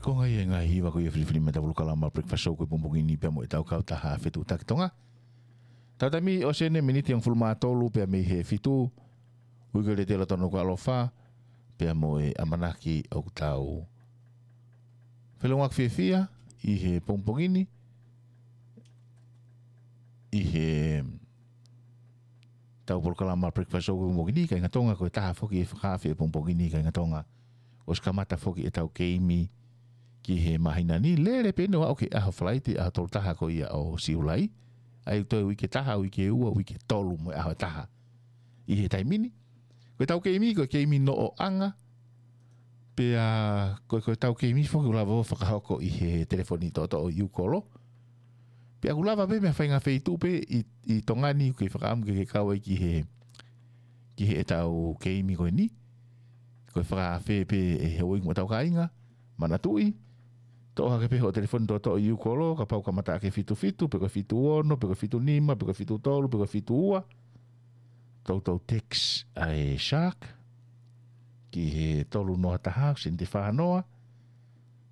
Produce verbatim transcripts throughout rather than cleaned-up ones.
Ko e ngaahi hiva ko ia ʻo e filifilimita polokalama Breakfast Show ko e pongipongi ni pea mo ʻetau kautaha fetuʻutaki Tonga. Tau taimi ʻosi eni miniti hongofulu mā tolu pea mei he fitu, ui ko e lete ʻa e Lotonu ko e ʻaloʻofa, pea mo e ʻamanaki ʻoku tau feʻiloaki fiefia ʻi he pongipongi ni, ʻi heʻetau polokalama Breakfast Show ko e pongipongi ni, kāinga Tonga, ko e taha foki e fakaafe he pongipongi ni, kāinga Tonga. ʻOsi kamata foki ʻetau keimi ki he māhina ni, lele pē ʻo aʻu ki he ʻaho Falaite, ʻaho tolu taha ko ia ʻo Siulai. ʻA ia toe uike taha, uike ua, uike tolu mo e ʻaho ʻe taha ʻi he taimi ni. Ko ʻetau keimi, ko e keimi noʻoʻanga. Pea ko, ko ʻetau keimi foki ʻoku lava ʻo fakahoko ʻi he telefoni toʻotoʻo ʻi ʻIukolo. Pea ʻoku lava pē mei he faʻahinga feituʻu pē ʻi, ʻi Tonga ni, ʻoku kei fakaʻamu ke ke kau ai ki he, ki heʻetau keimi ko eni. Ko e fakaafe pē ʻe he uike mo ʻetau kāinga, manatuʻi, toʻo hake pē hoʻo telefoni toʻotoʻo ʻi ʻIukolo, kapau ʻoku kamata ʻaki e fitu fitu, pe ko e fitu ono, pe ko e fitu nima, pe ko e fitu tolu, pe ko e fitu ua. Toutou text ʻa e Shark ki he tolu noa taha, sēniti fā noa,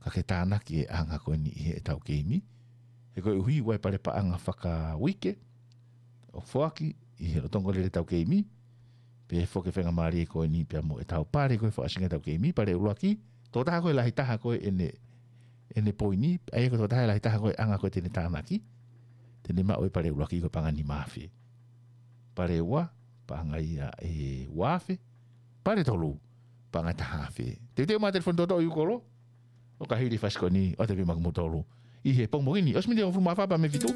ka ke tānaki e anga ko eni ʻi heʻetau keimi. He koeʻuhi ʻoku ʻi ai e pale paʻanga fakauike ʻoku foaki ʻi he lolotonga lele ʻetau keimi, pea foki e faingamālie ko eni pea mo ʻetau pale ko e fakaʻosinga ʻetau keimi, pale ʻuluaki, tokotaha ko e lahi taha ko e ʻene, ʻene poini, ʻa ia ko e tokotaha lahi taha ko e anga ko e te ne tānaki, te ne maʻu e pale ʻuluaki ko e paʻanga ʻe nima afe. Pale ua, paʻanga ia ʻe ua afe, pale tolu, paʻanga ʻe taha afe. Teuteu mai e telefoni toʻotoʻo ʻi ʻIukolo, ʻo ka hili e fasi ko eni, ʻoatu pē maʻa kimoutolu ʻi he pongipongi ni, ʻosi miniti hongofulu mā fā pea mei he fitu.